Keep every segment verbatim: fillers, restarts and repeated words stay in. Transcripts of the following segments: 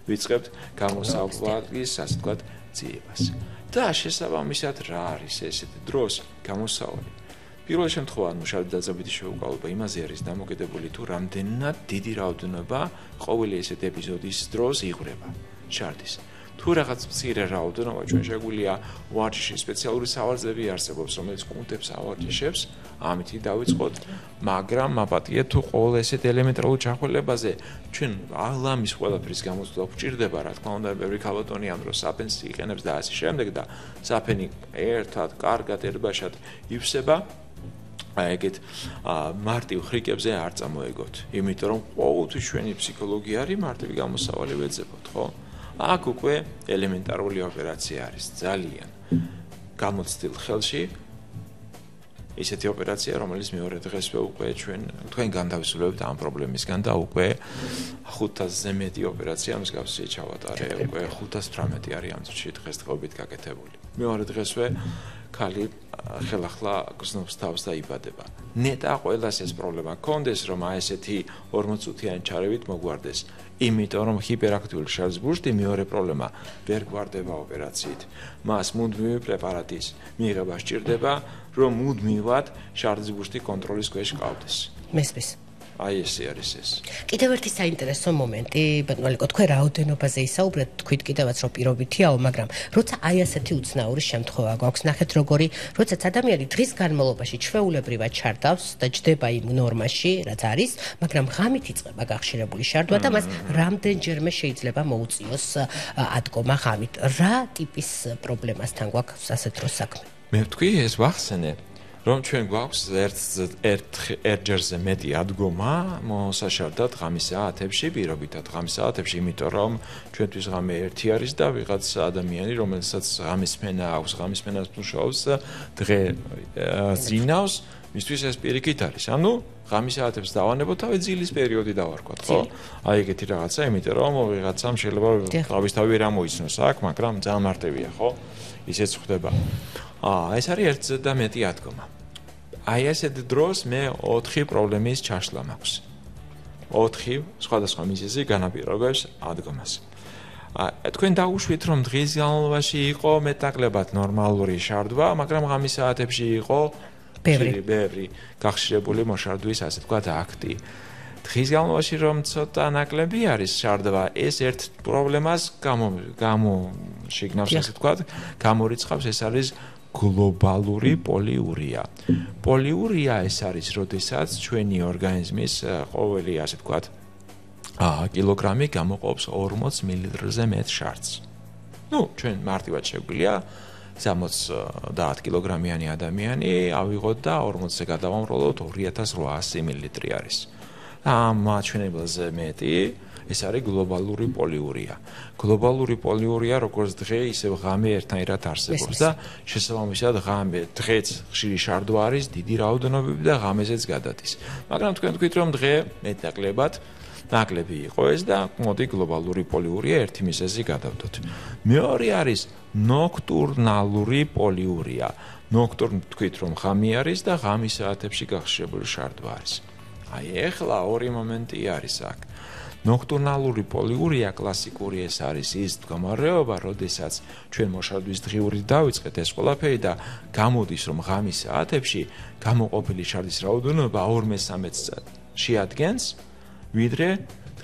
ვიწყებთ გამოსავლის, ასე ვთქვათ, ძიებას. და შესაბამისად რა არის ესეთი დროს გამოსავალი? პირველ შემთხვევაში მუშაობის დაწყებითი შეუყალობა იმაზე არის დამოკიდებული თუ რამდენად დიდი რაოდენობა ყოველი ესეთი ეპიზოდის დროს იღვრება შარდის. თუ რაღაც მცირე რაოდენობა ჩვენ შეგვიძლია ვარჯიში სპეციალური სავარძები არსებობს, რომელიც კუნთებს ავარჯიშებს, ამითი დავიწყოთ, მაგრამ მაპატიეთ თუ ყოველ ესეთ ელემენტარულ ჩახველებაზე ჩვენ ალამის ყველაფრის გამოცდა გვჭირდება, რა თქმა უნდა, ბევრი ქალბატონი ამ დროს საფენს იყენებს და ასე შემდეგ და საფენი ერთად, კარგად, ერბაშად ივსება. აი ეგეთ მარტივ ხრიკებზე არ წამოეგოთ, იმიტომ რომ ყოველთვის ჩვენი ფსიქოლოგია არის მარტივი გამოსავალი ვეძებოთ, ხო? აქ უკვე ელემენტარული ოპერაცია არის ძალიან გამოცდილ ხელში ისეთი ოპერაცია, რომელიც მეორე დღესვე უკვე ჩვენ თქვენ განთავისუფლებთ ამ პრობლემისგან და უკვე ხუთასზე მეტი ოპერაცია მსგავსი ჩავატარე, უკვე ხუთას თვრამეტი არის ამ წუთში დღესდღეობით გაკეთებული. მეორე დღესვე ქალი ხელახლა გზნობს თავს და იბადება. ნეტა ყველას ეს პრობლემა გქონდეს, რომ აი ესეთი ორმოც წუთიანი ჩარევით მოგვარდეს. იმიტომ რომ ჰიპერაქტიული შარდის ბურსტი მეორე პრობლემა ვერ გვარდება ოპერაციით. მას მუდმივი პრეპარატის მიღება სჭირდება, რომ მუდმივად შარდის ბურსტი კონტროლის ქვეშ ყავდეს. მესმის. აი ესე არის ეს. კიდევ ერთი საინტერესო მომენტი, ბატონო ალიკო, თქვენ რაოდენობაზე ისაუბრეთ, თქვით კიდევაც რომ პირობითიაო, მაგრამ როცა აი ასეთი უცნაური შემთხვევა გვაქვს, ნახეთ როგორი, როდესაც ადამიანი დღის განმავლობაში ჩვეულებრივად ჩარდავს და ჯდება იმ ნორმაში, რაც არის, მაგრამ ღამით იწყება გახშირებული შარდვა და მას რამდენჯერმე შეიძლება მოუწიოს ადგომა ღამით. რა ტიპის პრობლემასთან გვაქვს ასეთ დროს საქმე? მე ვთქვი, ეს ვახსენე. რომ ჩვენ გვაქვს ერთჯერზე მეტი ადგომა მოსაშარდად ღამის საათებში, პირობითად ღამის საათებში, იმიტომ რომ ჩვენთვის ღამე ერთი არის და ვიღაც ადამიანი, რომელსაც ღამის სმენა აქვს, ღამის სმენას მუშაობს, დღე ზინავს, მისთვის ეს პირიქით არის. ანუ ღამის საათებს დავანებოთ, თავი ძილის პერიოდი დავარქვათ, ხო? აი ეგეთი რაღაცა, იმიტომ რომ ვიღაცამ შეიძლება თავისთავად ვერ ამოიცნოს აქ, მაგრამ ძალიან მარტივია, ხო? ისეც ხდება. აა, ეს არის ერთზე და მეტი ადგომა. აი ასეთ დროს მე ოთხი პრობლემის ჩაშლა მაქვს. ოთხი სხვადასხვა მიზეზი განაპირობებს ადგომას. აა, თქვენ დაუშვით, რომ დღის განმავლობაში იყო მეტნაკლებად ნორმალური შარდვა, მაგრამ ღამის საათებში იყო ბევრი ბევრი გახშირებული მოშარდვის, ასე ვთქვათ, აქტი. დღის განმავლობაში რომ ცოტა ნაკლები არის შარდვა, ეს ერთ პრობლემას გამო გამოშიგნავს, ასე ვთქვათ, გამორიცხავს, ეს არის გლობალური პოლიურია. პოლიურია ეს არის, როდესაც ჩვენი ორგანიზმის ყოველი, ასე ვთქვათ, კილოგრამი გამოყოფს ორმოც მილilitrზე მეტ შარდს. ნუ, ჩვენ მარტივად შეგვიძლია სამოცდაათ კილოგრამიანი ადამიანი ავიღოთ და ორმოცზე გადავამრავლოთ ორი ათას რვაასი მილილიტრი არის. ამ მაჩვენებელზე მეტი ეს არის გლობალური პოლიურია. გლობალური პოლიურია როგორც დღე, ისევ ღამე ერთნაირად არსებობს და შესაბამისად ღამე დღეც ხშირი შარდვა არის, დიდი რაოდენობები და ღამეზეც გადადის. მაგრამ თქვენ თქვით რომ დღე მეტნაკლებად ნაკლები იყო ეს და მოდი გლობალური პოლიურია ერთი მიზეზი გადავდოთ. მეორე არის ნოქტურნალური პოლიურია. ნოქტურნ თქვით რომ ღამე არის და ღამის საათებში გახშირებული შარდვა არის. აი ეხლა ორი მომენტი არის აქ. ნოქტურნალური პოლიურია კლასიკური ეს არის ის მდგომარეობა, როდესაც ჩვენ მოშარდვის დღიური დავიწყეთ ეს ყველაფერი და გამოდის რომ ღამის საათებში გამოყოფილი შარდის რაოდენობა ორ მესამედს შეადგენს, ვიდრე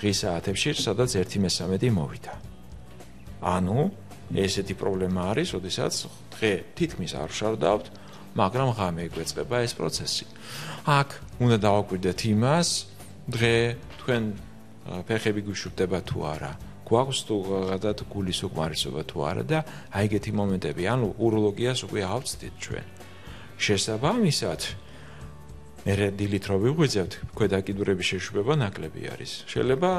დღის საათებში, სადაც ერთი მესამედი მოვიდა. ანუ ესეთი პრობლემა არის, როდესაც დღე თითქმის არ ვშარდავთ, მაგრამ ღამე გვეწყება ეს პროცესი. აქ უნდა დავაკვირდეთ იმას, დღე თქვენ ფეხები გუშურდება თუ არა, გვაქვს თუ გადად გულის უკმარისობა თუ არა და აი ეგეთი მომენტები, ანუ უროლოგიას უკვე ავწდით ჩვენ. შესაბამისად, მერე დილით რო ვიღვიძებთ, ქვედა კიდურების შეშუპება ნაკლები არის. შეიძლება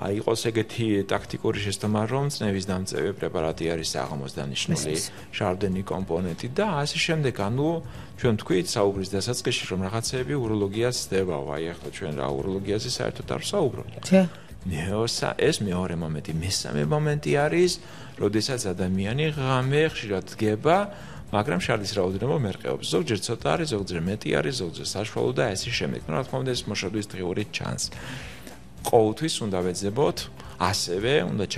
აი იყოს ეგეთი ტაქტიკური შეცდომა, რომ წნევის დამწევი პრეპარატი არის აღამოს დანიშნული, შარდენი კომპონენტი და ასე შემდეგ. ანუ ჩვენ თქვით საუბრის დასაწყისში, რომ რაღაცეები უროლოგიას ხდებაო, აი ახლა ჩვენ რა უროლოგიაზე საერთოდ არ ვსაუბრობთ. მეოსა ეს მეორე მომენტი, მესამე მომენტი არის, როდესაც ადამიანი ღამე ხშირად დგება, მაგრამ შარდის რაოდენობა მერყეობს. ზოგჯერ ცოტა არის, ზოგჯერ მეტი არის, ზოგჯერ საშუალო და ასე შემდეგ. რა თქმა უნდა, ეს მოშარდვის დღიური ჩანს. ყოველთვის უნდა ვეძებოთ, ასევე უნდა